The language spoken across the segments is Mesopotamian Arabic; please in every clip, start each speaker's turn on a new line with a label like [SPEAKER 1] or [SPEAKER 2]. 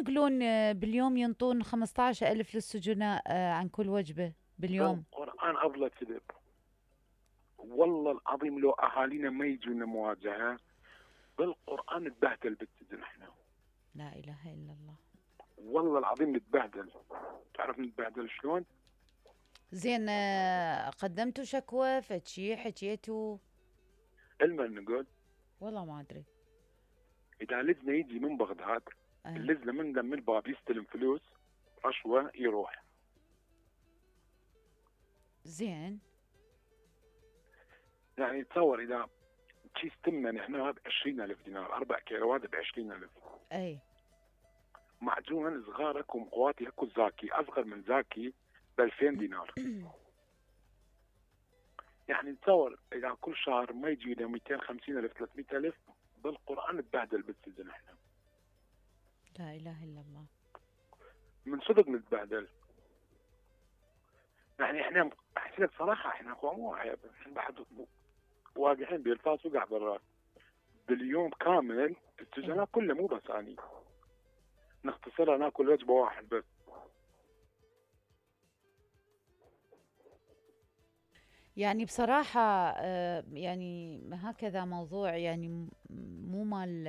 [SPEAKER 1] يقولون باليوم ينطون 15,000 للسجناء عن كل وجبة باليوم.
[SPEAKER 2] القرآن أضل كذب والله العظيم. لو أهالينا ما يجونا مواجهة بالقرآن نتبهدل بالسجن احنا.
[SPEAKER 1] لا إله إلا الله.
[SPEAKER 2] والله العظيم نتبهدل. تعرف نتبهدل شلون؟
[SPEAKER 1] زين قدمتوا شكوى فشي حكيتوا؟
[SPEAKER 2] المن نقول
[SPEAKER 1] والله ما أدري.
[SPEAKER 2] إذا لجنة يجي من بغداد اللجنة من الباب يستلم فلوس رشوة يروح.
[SPEAKER 1] زين
[SPEAKER 2] يعني تصور إذا كيس تمن احنا ب20,000 دينار 4 كيلو هذا ب20,000.
[SPEAKER 1] أي
[SPEAKER 2] معجون صغارك ومقواتي اكو زاكي اصغر من زاكي ب2000 دينار. يعني تصور اذا كل شهر ما يجي لنا 250,000 300,000 بالقرآن نتبهدل بالسجن احنا.
[SPEAKER 1] لا اله الا الله.
[SPEAKER 2] من صدق نتبهدل. يعني احنا احكي لك صراحه احنا مو عيب، احنا بعد واقعين بالفاس وقع بالراس. باليوم كامل السجناء كله مو بس اني نختصرها ناكل وجبه واحد بس.
[SPEAKER 1] يعني بصراحة يعني هكذا موضوع يعني مو مال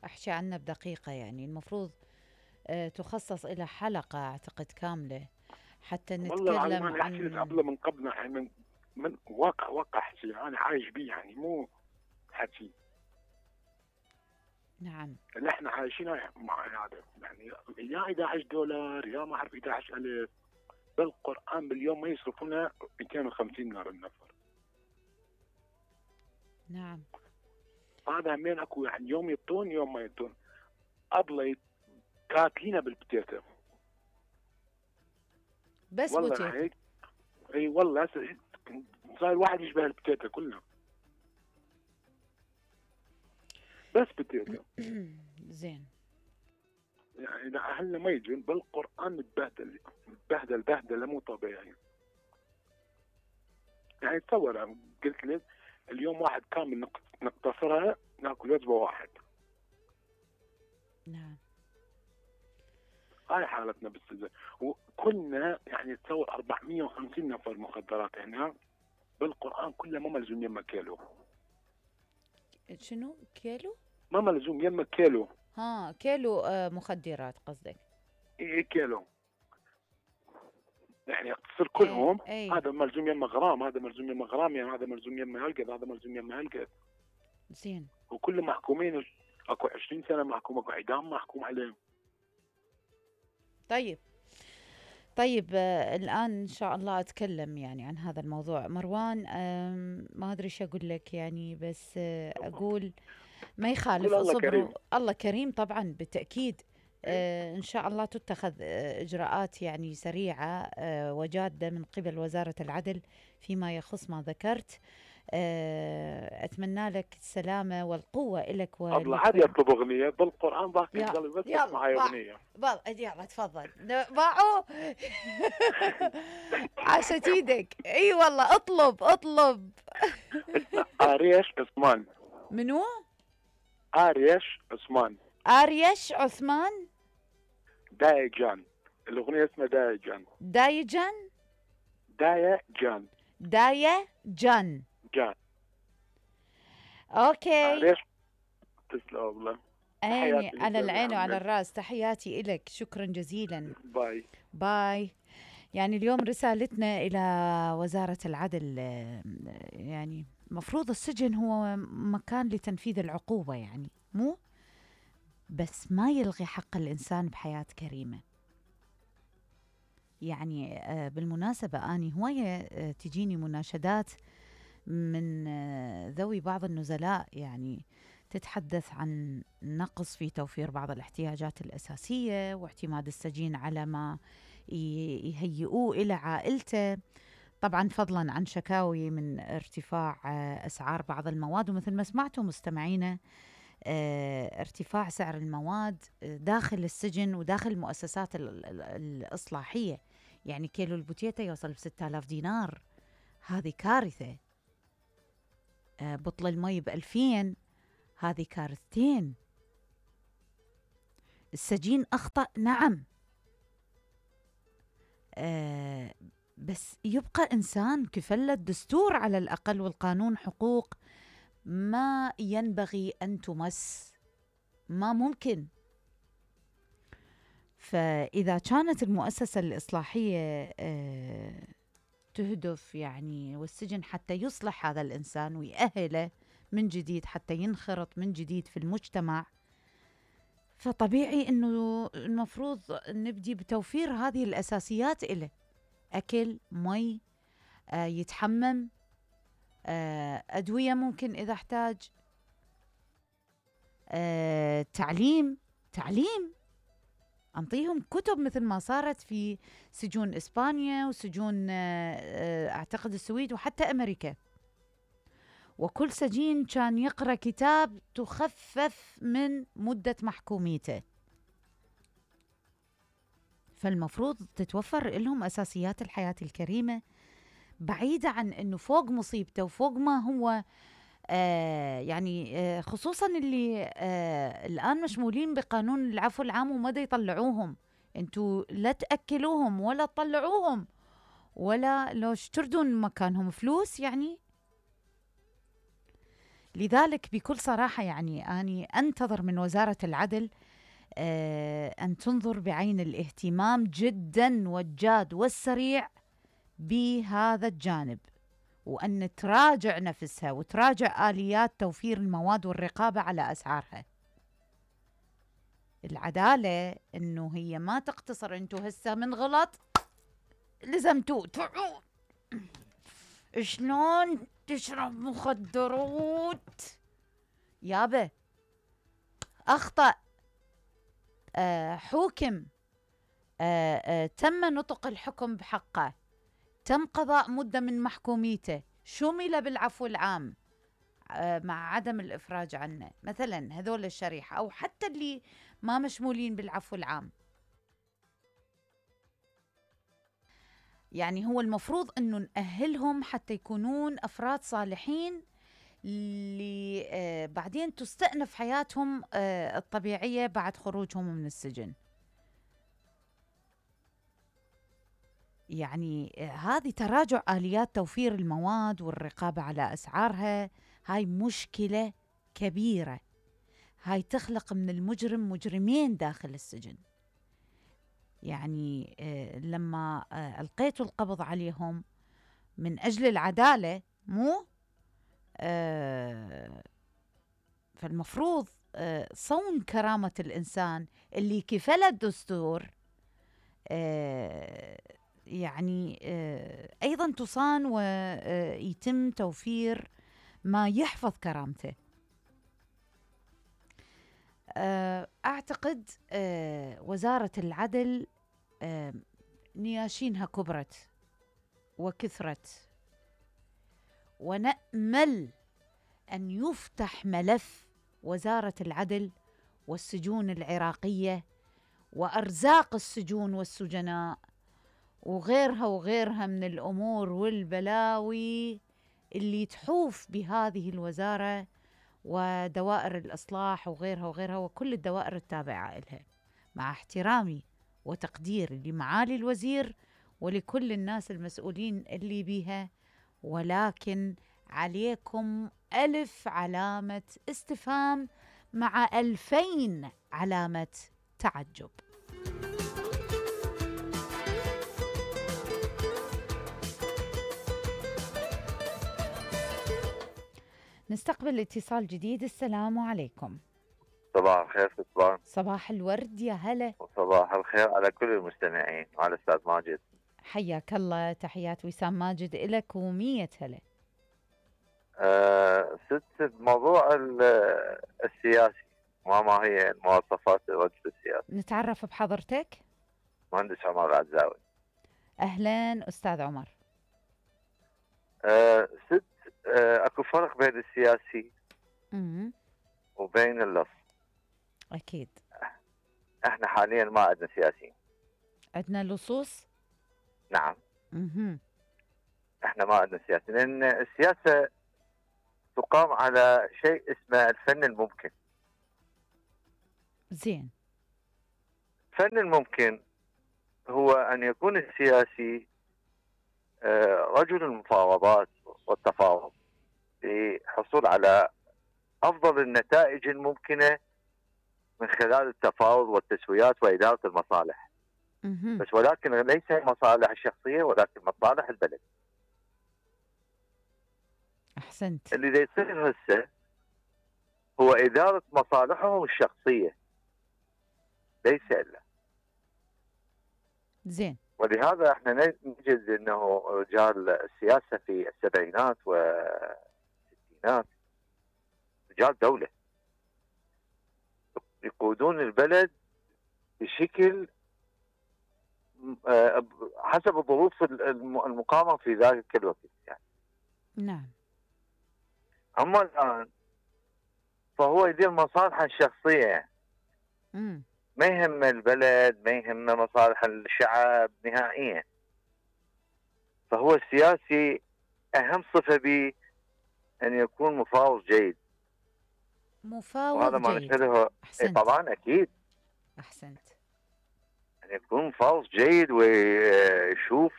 [SPEAKER 1] أحكي عنه بدقيقة. يعني المفروض تخصص إلى حلقة أعتقد كاملة حتى نتكلم
[SPEAKER 2] عن. أحكي لك قبل من قبل يعني من واقع حكي أنا عايش بيه يعني مو حكي.
[SPEAKER 1] نعم.
[SPEAKER 2] اللي احنا عايشينه مع هذا يعني يا $11 يا ما أعرف 11,000 بالقرآن باليوم ما يصرفونه 250 دينار النفر.
[SPEAKER 1] نعم.
[SPEAKER 2] هذا همين اكو يعني يوم يطون يوم ما يطون. أبلة كاتلينا بالبتيتة
[SPEAKER 1] بس بوتيتة.
[SPEAKER 2] اي والله صار الواحد يشبه البتيتة كلها بس بتيتة.
[SPEAKER 1] زين.
[SPEAKER 2] يعني اذا اهلنا ما يجون بالقرآن نتبهدل بهدله مو طبيعي. يعني تصور قلت لك اليوم واحد كامل نقتصرها ناكل وجبه واحد.
[SPEAKER 1] نعم.
[SPEAKER 2] هاي حالتنا بالسجن. وكلنا يعني تصور 450 نفر مخدرات هنا بالقرآن كله ما ملزوم يما كيلو.
[SPEAKER 1] شنو كيلو؟
[SPEAKER 2] ما ملزوم يما كيلو.
[SPEAKER 1] ها كيلو مخدرات قصدك؟
[SPEAKER 2] ايه كيلو. يعني يقتصر كلهم.
[SPEAKER 1] أي.
[SPEAKER 2] هذا ملزوم يما غرام، هذا ملزوم يما غرام، يعني هذا ملزوم يما هالقد، هذا ملزوم يما هالقد.
[SPEAKER 1] زين.
[SPEAKER 2] وكل محكومين اكو 20 سنه محكوم، اكو اعدام محكوم عليهم.
[SPEAKER 1] طيب الآن إن شاء الله أتكلم يعني عن هذا الموضوع. مروان ما أدري شو أقول لك يعني بس أقول ما يخالف اصبروا. الله كريم طبعا بالتأكيد. إن شاء الله تتخذ إجراءات يعني سريعة وجادة من قبل وزارة العدل فيما يخص ما ذكرت. أتمنى لك السلامة والقوة لك.
[SPEAKER 2] الله عاد يطلب أغنية بالقرآن ضاق القلب بس معي أغنية.
[SPEAKER 1] يلا تفضل باعوا. عاشت ايدك. اي والله اطلب.
[SPEAKER 2] آريش عثمان.
[SPEAKER 1] منو؟
[SPEAKER 2] آريش
[SPEAKER 1] عثمان.
[SPEAKER 2] دايجان. الأغنية اسمها دايجان.
[SPEAKER 1] اوكي.
[SPEAKER 2] آريش تسلم والله.
[SPEAKER 1] عيني على العين وعلى الراس. تحياتي إلك. شكرا جزيلا. باي. يعني اليوم رسالتنا إلى وزارة العدل يعني مفروض السجن هو مكان لتنفيذ العقوبة يعني مو بس ما يلغي حق الإنسان بحياة كريمة. يعني بالمناسبة أني هواية تجيني مناشدات من ذوي بعض النزلاء يعني تتحدث عن نقص في توفير بعض الاحتياجات الأساسية واعتماد السجين على ما يهيئوه إلى عائلته، طبعا فضلا عن شكاوي من ارتفاع أسعار بعض المواد. ومثل ما سمعتوا مستمعينا ارتفاع سعر المواد داخل السجن وداخل المؤسسات الإصلاحية. يعني كيلو البوتيتا يوصل ب6,000 دينار، هذه كارثة. بطل المي ب2000، هذه كارثتين. السجين أخطأ، نعم. بس يبقى إنسان كفل الدستور على الأقل والقانون حقوق ما ينبغي أن تمس، ما ممكن. فإذا كانت المؤسسة الإصلاحية تهدف يعني والسجن حتى يصلح هذا الإنسان ويأهله من جديد حتى ينخرط من جديد في المجتمع، فطبيعي أنه المفروض نبدي بتوفير هذه الأساسيات إله: أكل، مي، يتحمم، أدوية ممكن إذا احتاج، تعليم، أنطيهم كتب مثل ما صارت في سجون إسبانيا وسجون أعتقد السويد وحتى أمريكا، وكل سجين كان يقرأ كتاب تخفف من مدة محكوميته. فالمفروض تتوفر لهم أساسيات الحياة الكريمة، بعيدة عن أنه فوق مصيبته وفوق ما هو يعني خصوصا اللي الآن مشمولين بقانون العفو العام وما دا يطلعوهم. انتوا لا تأكلوهم ولا تطلعوهم ولا لو تردون مكانهم فلوس يعني. لذلك بكل صراحة يعني أني أنتظر من وزارة العدل أن تنظر بعين الاهتمام جدا والجاد والسريع بهذا الجانب، وأن تراجع نفسها وتراجع آليات توفير المواد والرقابة على أسعارها. العدالة إنه هي ما تقتصر انتو هسه من غلط لزمتو شلون تشرب مخدرات يابا، أخطأ، حوكم، تم نطق الحكم بحقه، تم قضاء مدة من محكوميته، شمل بالعفو العام مع عدم الإفراج عنه مثلا، هذول الشريحة أو حتى اللي ما مشمولين بالعفو العام. يعني هو المفروض أنه نأهلهم حتى يكونون أفراد صالحين اللي بعدين تستأنف حياتهم الطبيعية بعد خروجهم من السجن. يعني هذه تراجع آليات توفير المواد والرقابة على أسعارها، هاي مشكلة كبيرة، هاي تخلق من المجرم مجرمين داخل السجن. يعني لما ألقيتوا القبض عليهم من أجل العدالة مو فالمفروض صون كرامة الإنسان اللي كفل الدستور يعني أيضا تصان ويتم توفير ما يحفظ كرامته. أعتقد وزارة العدل نياشينها كبرت وكثرت، ونأمل أن يفتح ملف وزارة العدل والسجون العراقية وأرزاق السجون والسجناء وغيرها من الأمور والبلاوي اللي تحوف بهذه الوزارة ودوائر الإصلاح وغيرها وكل الدوائر التابعة إلها، مع احترامي وتقديري لمعالي الوزير ولكل الناس المسؤولين اللي بيها، ولكن عليكم 1000 علامة استفهام مع 2000 علامة تعجب. نستقبل اتصال جديد. السلام عليكم.
[SPEAKER 3] صباح الخير سلطان.
[SPEAKER 1] صباح الورد، يا هلا.
[SPEAKER 3] وصباح الخير على كل المستمعين وعلى الأستاذ ماجد.
[SPEAKER 1] حياك الله، تحيات وسام ماجد إلك و100 هلا.
[SPEAKER 3] ست بموضوع السياسي وما هي مواصفات الرجل السياسي.
[SPEAKER 1] نتعرف بحضرتك.
[SPEAKER 3] مهندس عمر العزاوي.
[SPEAKER 1] أهلا أستاذ عمر.
[SPEAKER 3] ست اكو فرق بين السياسي وبين اللص.
[SPEAKER 1] أكيد.
[SPEAKER 3] احنا حاليا ما عندنا سياسيين.
[SPEAKER 1] عندنا لصوص؟
[SPEAKER 3] نعم. احنا ما عندنا سياسة، لأن السياسة تقام على شيء اسمه الفن الممكن.
[SPEAKER 1] زين.
[SPEAKER 3] فن الممكن هو أن يكون السياسي رجل المفاوضات والتفاوض للحصول على أفضل النتائج الممكنة من خلال التفاوض والتسويات وإدارة المصالح. بس ولكن ليس المصالح الشخصية ولكن مصالح البلد.
[SPEAKER 1] أحسنت.
[SPEAKER 3] اللي يصير هسه هو إدارة مصالحهم الشخصية ليس إلا.
[SPEAKER 1] زين.
[SPEAKER 3] ولهذا احنا نجد انه رجال السياسة في السبعينات والستينات رجال دولة يقودون البلد بشكل حسب الظروف المقامة في ذلك الوقت يعني.
[SPEAKER 1] نعم.
[SPEAKER 3] أما الآن فهو يدير مصالحه الشخصية. ما يهم البلد، ما يهم مصالح الشعب نهائيا. فهو السياسي أهم صفة به أن يكون مفاوض جيد.
[SPEAKER 1] مفاوض
[SPEAKER 3] وهذا ما
[SPEAKER 1] جيد.
[SPEAKER 3] نشهده.
[SPEAKER 1] أحسنت.
[SPEAKER 3] طبعا أكيد.
[SPEAKER 1] أحسنت.
[SPEAKER 3] أن يكون مفاوض جيد ويشوف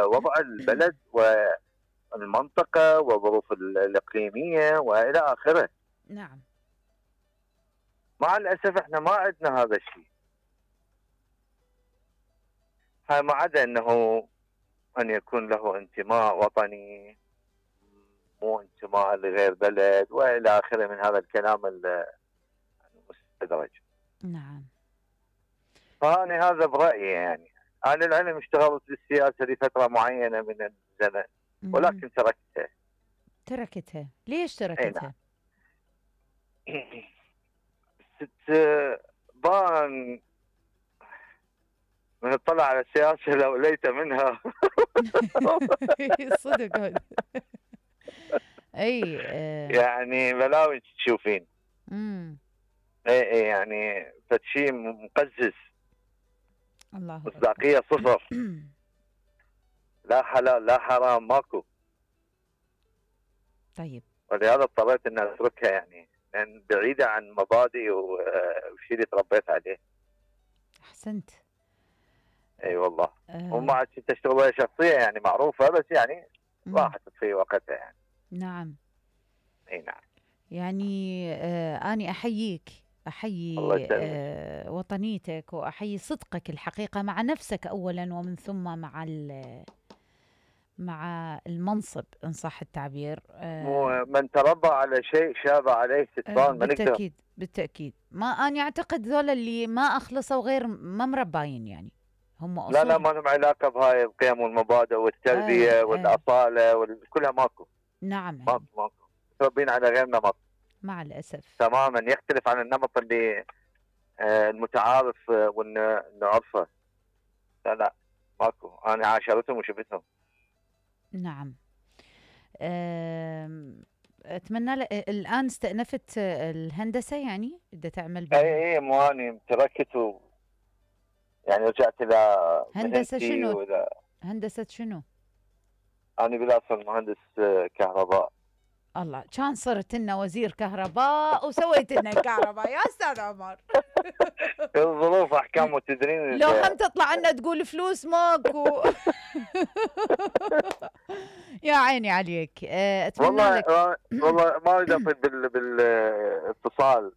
[SPEAKER 3] وضع البلد والمنطقة والظروف الإقليمية وإلى آخره.
[SPEAKER 1] نعم.
[SPEAKER 3] مع الأسف احنا ما عندنا هذا الشيء. ما عدا أنه أن يكون له انتماء وطني، مو انتماء لغير بلد وإلى آخره من هذا الكلام المستدرج.
[SPEAKER 1] نعم.
[SPEAKER 3] فأنا هذا برأيي يعني. أنا العلم اشتغلت بالسياسة لفترة معينة من الزمن ولكن تركتها.
[SPEAKER 1] تركتها؟ ليش تركتها؟
[SPEAKER 3] ست بان من اطلع على السياسة لو ليت منها.
[SPEAKER 1] صدق هذا. اي
[SPEAKER 3] يعني بلاوي تشوفين. اي يعني فشي مقزز.
[SPEAKER 1] الله.
[SPEAKER 3] مصداقية صفر. لا حلال لا حرام ماكو.
[SPEAKER 1] طيب.
[SPEAKER 3] ولهذا اضطريت ان اتركها يعني، لان بعيدة عن مبادئي والشيء اللي تربيت عليه.
[SPEAKER 1] احسنت.
[SPEAKER 3] اي والله. وما عاد تشتغل شخصية يعني معروفة، بس يعني راحت في وقتها يعني.
[SPEAKER 1] نعم.
[SPEAKER 3] اي نعم.
[SPEAKER 1] يعني أنا أحييك، أحيي وطنيتك وأحيي صدقك الحقيقة مع نفسك أولا ومن ثم مع المنصب إن صح التعبير.
[SPEAKER 3] من تربى على شيء شاب عليه ستبان.
[SPEAKER 1] بالتأكيد بالتأكيد. ما أنا أعتقد ذولا اللي ما أخلصوا غير ما مرباين يعني هم أصول.
[SPEAKER 3] لا ما لهم علاقة بهاي القيم والمبادئ والتربية والأصالة كلها ماكو.
[SPEAKER 1] نعم.
[SPEAKER 3] ماكو متربين على غير نمط
[SPEAKER 1] مع الأسف
[SPEAKER 3] تماما يختلف عن النمط اللي المتعارف ونعرفه. لا ماكو. أنا عاشرتهم وشفتهم.
[SPEAKER 1] نعم. أتمنى الآن استأنفت الهندسة يعني بدها تعمل
[SPEAKER 3] اي مواني تركت يعني رجعت إلى
[SPEAKER 1] هندسة شنو؟ هندسة شنو؟
[SPEAKER 3] أنا بالأصل مهندس كهرباء.
[SPEAKER 1] الله كان صرت لنا وزير كهرباء وسويت لنا كهرباء يا أستاذ عمر.
[SPEAKER 3] الظروف أحكام وتدرين
[SPEAKER 1] لو هم تطلع لنا تقول فلوس ماكو. يا عيني عليك. أتمنى لك
[SPEAKER 3] والله ما أريد أطيل بالاتصال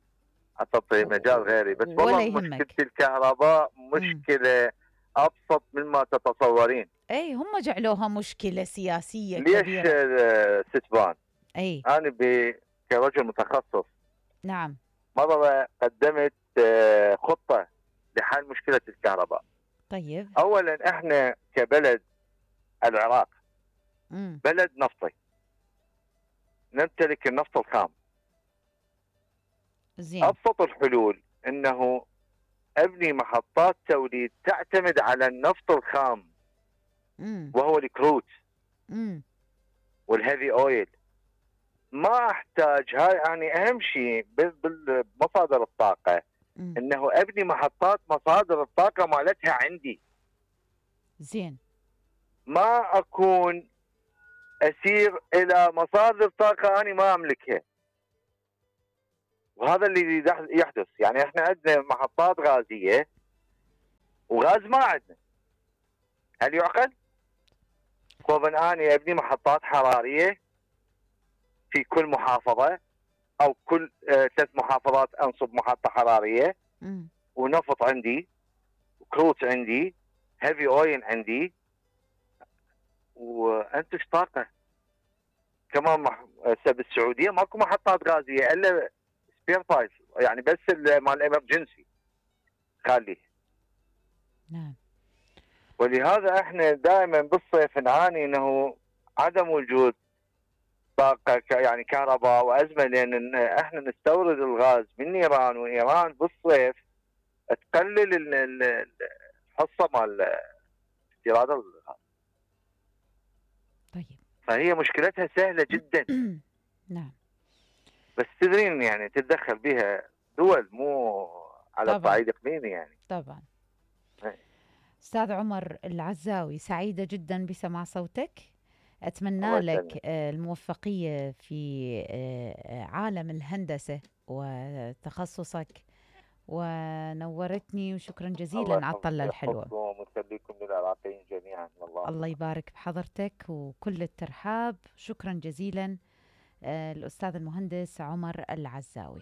[SPEAKER 3] أعطي مجال غيري، بس والله مشكلة الكهرباء مشكلة أبسط مما تتصورين.
[SPEAKER 1] أي هم جعلوها مشكلة سياسية
[SPEAKER 3] كبيرة. ليش ستبان؟
[SPEAKER 1] أي
[SPEAKER 3] أنا كرجل متخصص
[SPEAKER 1] نعم
[SPEAKER 3] مرة قدمت خطة لحل مشكلة الكهرباء.
[SPEAKER 1] طيب.
[SPEAKER 3] أولا إحنا كبلد العراق بلد نفطي، نمتلك النفط الخام.
[SPEAKER 1] زين.
[SPEAKER 3] أبسط الحلول أنه أبني محطات توليد تعتمد على النفط الخام وهو الكروت والهيفي أويل. ما أحتاج هاي يعني أهم شيء بمصادر الطاقة أنه أبني محطات مصادر الطاقة مالتها عندي.
[SPEAKER 1] زين.
[SPEAKER 3] ما أكون أسير إلى مصادر طاقة أنا ما أملكها. وهذا اللي يحدث يعني. احنا عندنا محطات غازية وغاز ما عندنا. هل يعقل؟ طبعا اني ابني محطات حراريه في كل محافظه او كل 3 محافظات انصب محطه حراريه، ونفط عندي، وكروت عندي، هيفي اويل عندي، وانتج طاقه. كمان هسه بالسعوديه ماكو محطات غازيه الا سبير بايس، يعني بس مال الامرجنسي خليه.
[SPEAKER 1] نعم.
[SPEAKER 3] ولهذا احنا دائما بالصيف نعاني انه عدم وجود طاقه يعني كهرباء وازمه، لان احنا نستورد الغاز من ايران، وايران بالصيف تقلل الحصه مال استيراد الغاز.
[SPEAKER 1] طيب.
[SPEAKER 3] فهي مشكلتها سهله جدا.
[SPEAKER 1] نعم.
[SPEAKER 3] بس تدرين يعني تتدخل بها دول، مو على الصعيد اقليمي يعني.
[SPEAKER 1] طبعا. أستاذ عمر العزاوي، سعيدة جدا بسماع صوتك. أتمنى لك الموفقية في عالم الهندسة وتخصصك، ونورتني، وشكرا جزيلا على الطلة الحلوة.
[SPEAKER 3] ويخليكم للعراقيين جميعا.
[SPEAKER 1] الله يبارك بحضرتك وكل الترحاب. شكرا جزيلا الأستاذ المهندس عمر العزاوي.